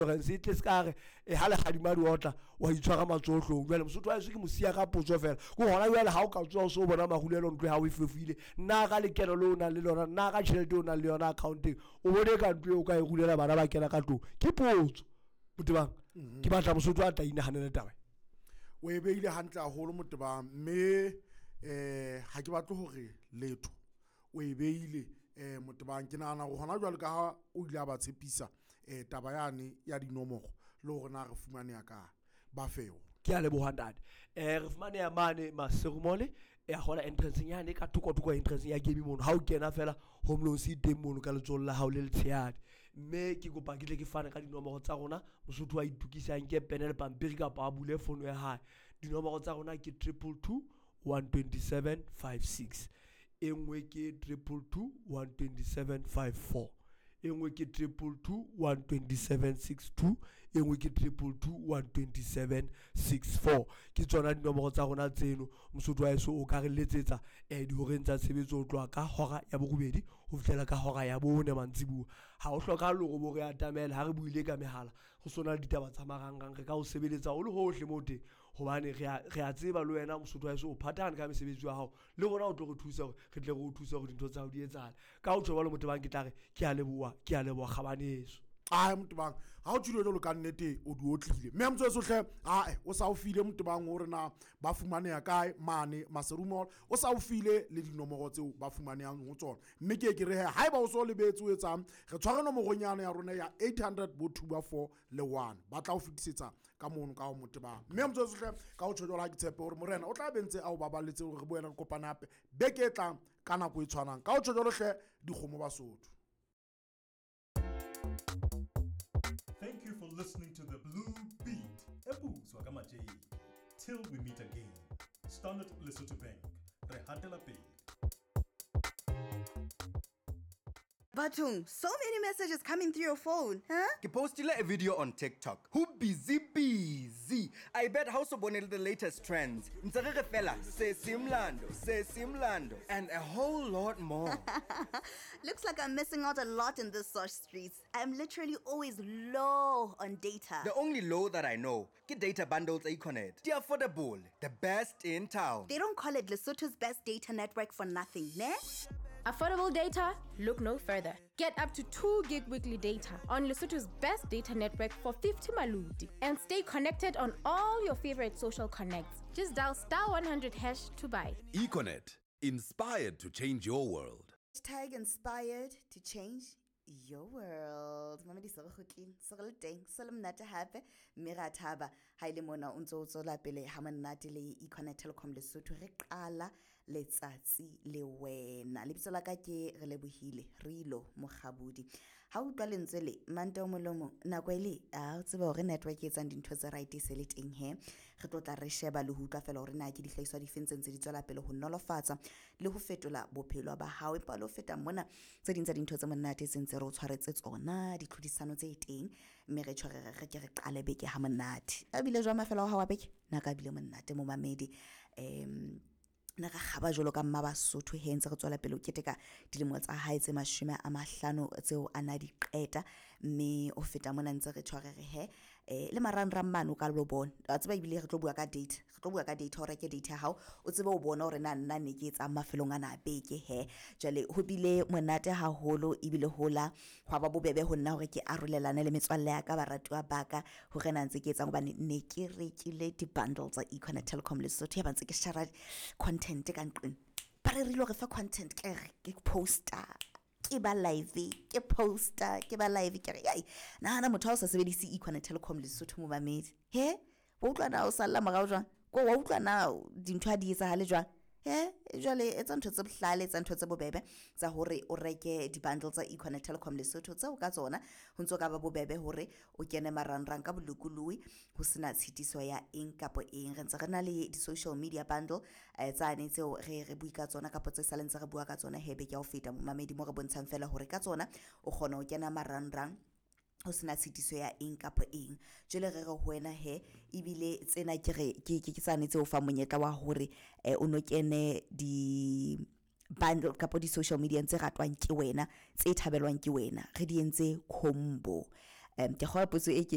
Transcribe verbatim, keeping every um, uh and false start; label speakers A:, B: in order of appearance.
A: Insurance e tle se ka re e ha legadima di otla wa itshwara matsoho. Jwale Mosotho wa heso, ke mo siya ka potso fela ko gona jwale. Ha o ka tsoha o so o bona marulelo ntlo ya hao e fefoile, nna ka lekeno le o nang le lona, nna ka tjhelete o nang le yona accounteng, o bone ka ntlo eo o ka e rulela bana ba kena ka tlong? Ke potso, Motebang. Ke batla Mosotho a tla inahanele taba.
B: O e beile hantle haholo, Motebang, mme um ha ke batle hore letho. O e beile um Motebang. Ke nahana hore hona jwale ka ha o ile a ba tshepisa um taba yane ya dinomoro le hore na re fumaneha kae, ba fe yona.
A: Ke a leboha, ntate. um re fumaneha mane Maseru Mall, ya hola entrance nyane ka thoko thoko entrance ya game mono. Ha o kena fela, home loans e teng mono ka letsohong la hao le letshehadi. Mme ke kopa ke tle ke fane ka dinomoro tsa rona. Mosotho wa itokisa, nke pene le pampiri kapa a bule fono ya hae. Dinomoro tsa rona ke triple two one twenty seven five six, e nngwe ke triple two one twenty seven five four, e nngwe ke triple two one twenty seven six two, e nngwe ke triple two one twenty seven six four. Ke tsona dinomoro tsa rona tseno. Mosotho wa heso, o ka re letsetsa um dihoreng tsa tshebetso ho tloha ka hora ya borobedi ho fihlela ka hora ya bone mantsibuya. Ha o hlokahale hore bo re atamele. Ha re buile ka mehala, go sona le ditaba tsa marangrang, re ka o sebeletsa o le hohle mo teng, hobane re a re a tseba le wena, Mosotho wa heso, o phathahane ka mesebetsi ya hao. Le rona o tlo re thusa hore re tle re o thuse hore dintho tsa hao di etsahale. Ka ho tjho jwalo, Motebang, ke tla re ke a leboha, ke a leboha, kgabaneso.
B: Ae, Motebang, ha o tjhile jwalo ka nnete, o di otlile. Mme motho hle, ae, o sa o file, Motebang, hore na ba fumaneha kae mane Maseru Mall. O sa o file le dinomoro tseo ba fumanehang ho tsona. Mme ke ke re he, haeba o so lebetse, o etsang? Re tshware nomoronyana ya rona ya eight hundred bo two ba four le one, ba tla o fetisetsa ka mono ka ho Motebang. Mme motho hle, ka ho tjho jwalo, ha ke tshepe hore morena o tla be ntse a o baballetse hore re boele re kopane hape beke e tlang ka nako e tshwanang. Ka ho tjho jwalo hle, dikgomo Basotho.
C: Thank you for listening to the Blue Beat. Ebuzwa kaMajay. Till we meet again. Standard Lesotho Bank. Re hatela pele.
D: Batung, so many messages coming through your phone, huh?
E: Ke postile a video on TikTok. Who busy busy. I bet ha o so bone le the latest trends. Ntse re re fela se simlando, se simlando and a whole lot more.
D: Looks like I'm missing out a lot in this sosh streets. I'm literally always low on data.
E: The only low that I know ke data bundles Econet. Di affordable, the best in town.
D: They don't call it Lesotho's best data network for nothing, ne?
F: Affordable data? Look no further. Get up to two gig weekly data on Lesotho's best data network for fifty maluti and stay connected on all your favorite social connects. Just dial star one hundred hash to buy.
G: Econet, inspired to change your world.
D: Hashtag inspired to change your world. Mamedi, se re kgutlile, se re le teng, se le monate hape, mme ra thaba ha ile mona o ntso o tswela pele ha monate le Econet Telecom Lesotho. Re qala letsatsi le wena. Lebitso la ka ke re lebohile Rilo Mokgabudi. Ha o utlwa lentswe le mante o molomo nako e le a o tseba hore network e etsang dintho tse right e se le teng. He, re tlo tla re sheba le ho utlwa fela hore na ke dihlahiswa difeng tse ntse di tswela pele ho nolofatsa le ho fetola bophelo ba hao. Empa le ho feta mona, tse ding tsa dintho tse monate tse ntse re o tshwaretse tsona, ditlhodisano tse teng, mme re tjho re re ke re qale beke ha monate. A bile jwang mafelo a hao a beke? Na ka bile monate, momamedi? um ne re kgaba jwalo ka mma Basotho he ntse re tswela pele ho keteka dilemo tsa hae tse mashome a mahlano tseo a na di qeta. Mme o feta mona ntse re tshware re he um le marangrang mane o ka lo bona wa tseba. Ebile re tlo bua ka data, re tlo bua ka data, o reke data ya hao, o tsebe o bona hore na nna ne ke etsang mafelong ana a beke. He, jwale ho bile monate haholo, ebile hola hwa ba bobebe ho nna hore ke arolelane le metswalle ya ka, baratuwa ba ka, hore na ntse ke etsang, hobane ne ke rekile di-bundle tsa Econet Telecom Lesotho. Ya ba ntse ke shara content ka nqeng, ba rerile hore fa content, ke re ke poster, ke ba live, ke poster, ke ba live. Ke re ai, nahana motho ha o sa sebedise Econet Telecom Lesotho, momamedi, he wa utlwa na o salla morao jwang? Ko wa utlwa na dintho ha di etsahale jwang? He, jwale etsa ntho tse bohlale, etsa ntho tse bobebe tsa hore o reke di-bundle tsa Econet Telecom Lesotho, tseo ka tsona ho ntso ka ba bobebe hore o kene marangrang ka bolokolohi ho sena tshitiso ya eng kapa eng. Re ntse re na le di-social media bundle eh, tsane tseo re re bui ka tsona kapa tse saleng tse re bua ka tsona he beke ya ho feta, momamedi, mo re bontshang fela hore ka tsona o kgona ho kena marangrang ho sena tshitiso ya eng kapa eng. Jwale re re ho wena he, ebile tsena ke re ke ke ke tsane tse o fang monyetla wa hore eh, o no kene di bundle kapa di-social media tse ratwang ke wena, tse thabelwang ke wena. Re di entse combo. um ke kgola potso e ke